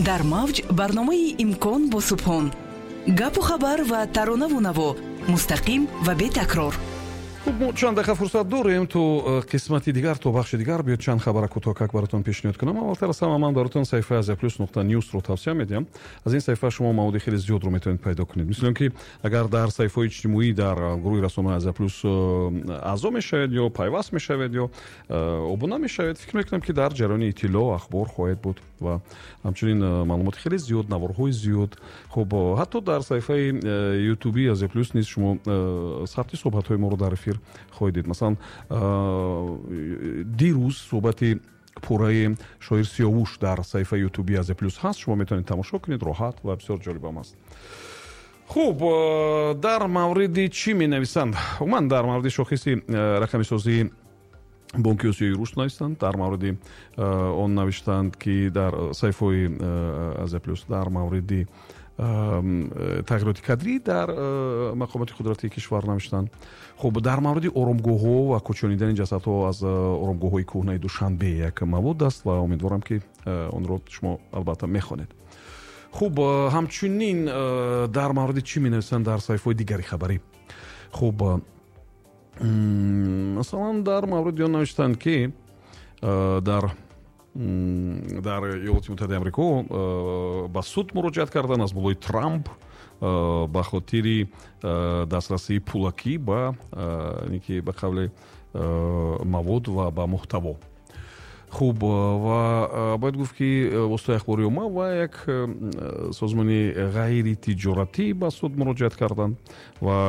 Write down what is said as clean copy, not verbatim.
Дар мавҷ барномаи «Имкон» бо Субҳон: гапу хабар ва таронаву наво, мустақим ва бетакрор. Хуб, мо чанд дақиқа фурсат дорем то қисмати дигар, то бахши дигар. Биёд, чанд хабара кӯтоҳкак баротон пешниҳод кунам. Аввалтар аз ҳама ман баротон саҳифаи Азия Плюс.ньюсро тавсия медиҳам. Аз ин саҳифа шумо маводи хеле зиёдро метавонед пайдо кунед. Мисли он ки агар дар саҳифаҳои иҷтимоӣ, дар гурӯҳи расонаи Азия Плюс аъзо мешавед ё пайваст мешавед ё обуна мешавед, фикр мекунам, ки дар ҷараёни иттилоъ, ахбор хоҳед буд ва ҳамчунин маълумоти хеле зиёд, наворҳои зиёд. Хуб, ҳатто дар саҳифаи Ютуби Азия Плюс низ шумо сабти суҳбатҳои моро дар эфир хоҳед дид. Масалан, дирӯз суҳбати пурраи шоир Сиёвуш дар саҳифаи Ютуби Азия Плюс ҳаст, шумо метавонед тамошо кунед роҳат ва бисёр ҷолибам аст. Хуб, дар мавриди чӣ менависанд? Умуман дар мавриди шохиси рақамисозии Бонки Осиёи Рушд навистанд, дар мавриди он навиштанд, ки дар саҳифаҳои Азия Плюс дар мавриди тағйироти кадрӣ дар мақомоти қудратии кишвар навиштанд. Хуб, дар мавриди оромгоҳҳо ва кӯчонидани ҷасадҳо аз оромгоҳҳои кӯҳнаи Душанбе як мавод аст ва умедворам, ки онро шумо албатта мехонед. Хуб, ҳамчунин дар мавриди чӣ менависанд дар саҳифаҳои дигари хабарӣ? Хуб, масалан, дар мавриди он навиштанд, ки дар Иёлоти Муттаҳидаи Амрико ба суд муроҷиат кардан аз болои Трамп ба хотири дастрасии пулакӣ ба ки ба қавли мавод ва ба муҳтаво. Хуб, ва бояд гуфт, ки воситаи ахбори омма ва як созмони ғайритиҷоратӣ ба суд муроҷиат карданд ва